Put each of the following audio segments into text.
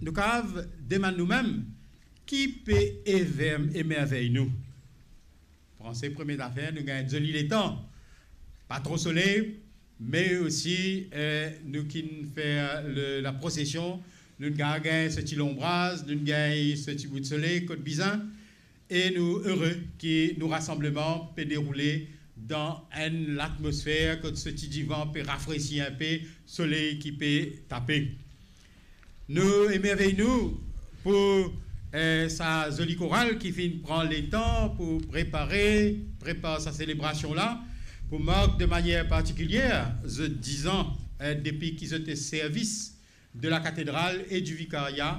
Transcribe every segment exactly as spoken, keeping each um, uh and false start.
nou kapav demann noumem, ki pe ever-, emervey nou? Panse premie zafer, nou gagn zoli letan. Pa tro soley, me osi, eh, nou ki'nn fer le, laprosesion, nou gagn, gagn so ti lonbraz, nou gagn so ti bout soley kot bizin, e nou ere ki nou rasanbleman pe deroule dan enn latmosfer kot so ti divan pe rafresi inpe, soley ki pe tape. Nou emervey nou pou, eh, sa zoli koral ki finn pran letan pou prepare, prepar sa selebrasion la, pou mark de manier partikilier zot dizan, eh, depi ki zot servi de la katedral e di vikaria,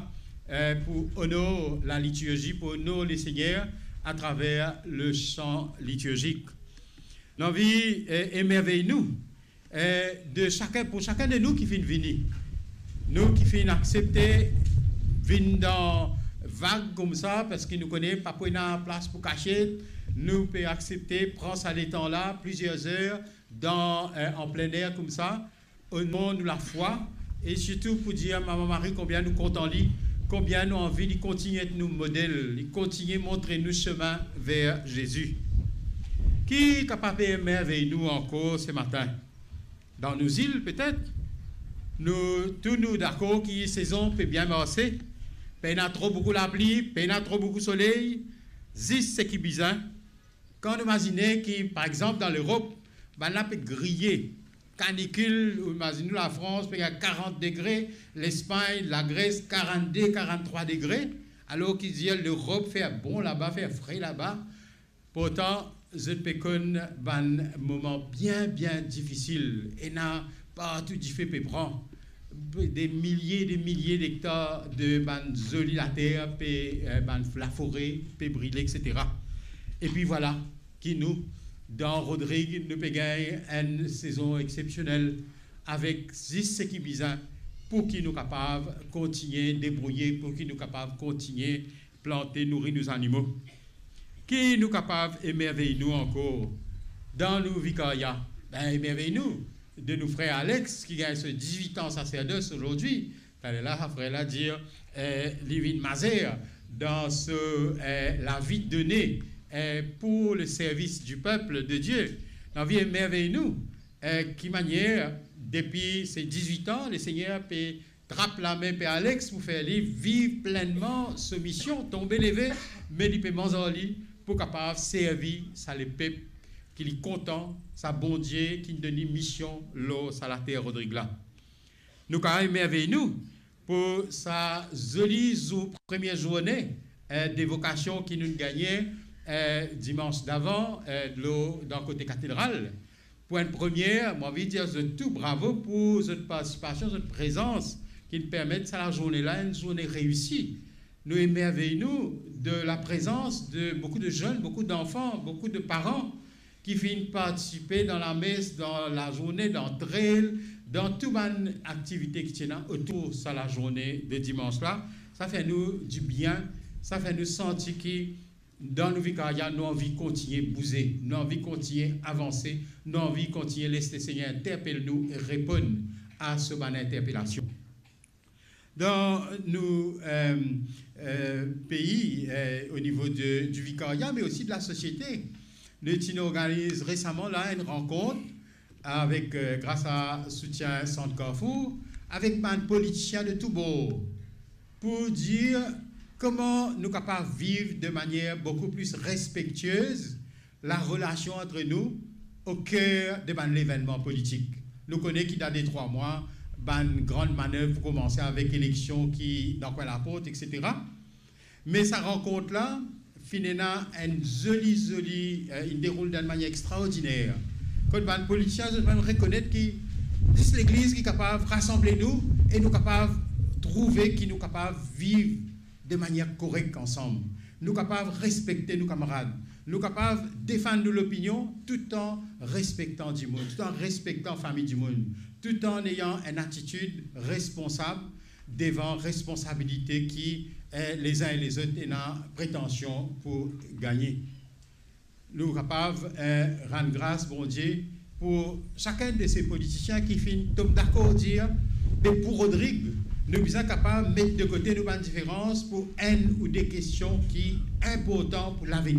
eh, pou onor lalitirzi, pou onor Lesegner atraver le san litirzik. Nou anvi, eh, emervey nou, eh, de sakenn, pou sakenn de nou ki finn vini, nou ki finn aksepte vinn dan vag koumsa, parski nou kone pa pou ena plas pou kasiet, nou pe aksepte pran sa letan la, plizier zer, dan, eh, an plen er koumsa, o non nou lafwa, e sirtou pou dir Mama Mari konbien nou kontan li, konbien nou anvi li kontigne et nou model, li kontigne montre nou semin ver Zezi. Ki kapav emervey nou ankor se matin? Dan nou zil, petet, nou tou nou dakor ki sezon pe bien marse, pena tro boukou lapli, pena tro boukou soley, zis seki bizin. Kan nou imazine ki, par exanp, dan Lerop, bannla pe griye, kanikil, ou imazine ou Lafrans, pe gagn karant degre, Lespagn, Lagres, karannde, karanntrwa degre, alor ki dir Lerop fer bon laba, fer fre laba, pourtan, zot pe konn bann moman bien, bien difisil, ena partou dife pe pran, de milie, de milie dektar de bann zoli later pe, eh, bann lafore pe brile, et cetera. Epi vwala ki nou, dan Rodrig, nou pe gagn enn sezon exsepsionel avek zis seki bizin pou ki nou kapav kontigne debrouye, pou ki nou kapav kontigne plante, nouri nou zanimo. Ki nou kapav emervey nou ankor dan nou vikaria? Be, emervey nou de nou frer Alex, ki gagn so dizwit an saserdos azordi. Taler la, sa frer la dir, eh, li vinn mazer dan so, eh, lavi done, eh, pou le servis di pep de Die. Nou anvi emervey nou, eh, ki manier, depi se dizwit an, Lesegner pe trap lame Père Alex pou fer li viv plennman so mision, tonbe leve, me li pe manz ar li pou kapav servi sa lepep ki li kontan, sa Bondie ki donn li mision lor sa later Rodrig la. Nou kapav emervey nou pou sa zoli zour, premie zourne, eh, de vokasion ki nou gagne, eh, dimans davan, eh, lor, dan kote katedral. Pou enn premie, mo anvi dir zot tou bravo pou zot partisipasion, zot prezans, ki permet sa lazourne la enn zourne reisi. Nou emervey nou de laprezans de boukou de zenn, boukou danfan, boukou de paran ki finn partisipe dan lames, dan lazourne, dan trail, dan tou bann aktivite ki ti ena otour sa lazourne de dimans la. Sa fer nou dibien, sa fer nou santi ki dan nou vikaria, nou anvi kontigne bouze, nou anvi kontigne avanse, nou anvi kontigne les Lesegner interpel nou e reponn a so bann interpelasion. Dan nou, eh, eh, pei, eh, o nivo de, di vikaria, me osi de lasosiete, nou ti organiz resaman la enn rankont avek, eh, gras a soutien Sant Carrefour, avek bann politisien de tou bor, pou dir kouma nou kapav viv de manier boukou pli respektiez larelasion ant nou o ker de bann levennman politik. Nou kone ki dan de trwa mwa, bann gran manev pou koumanse avek eleksion ki dan kwin laport, et cetera. Me sa rankont la finn ena enn zoli, zoli, eh, inn deroul dan enn manier extraordiner. Kot bann politisien, zot mem rekonet ki zis Legliz ki kapav rasanble nou e nou kapav trouve ki nou kapav viv de manier korek ansam. Nou kapav respekte nou kamarad. Nou kapav defann nou lopinion toutan respektan dimoun, toutan respektan fami dimoun, toutan neyan enn atitid responsab devan responsabilite ki, eh, lezin e lezot ena pretansion pou gagne. Nou kapav, eh, rann gras Bondie pou sakenn de se politisien ki finn tom dakor dir, be pou Rodrig, Nou bizin kapav met de kote nou bann diferans pou enn ou de kestion ki inportan pou lavenir.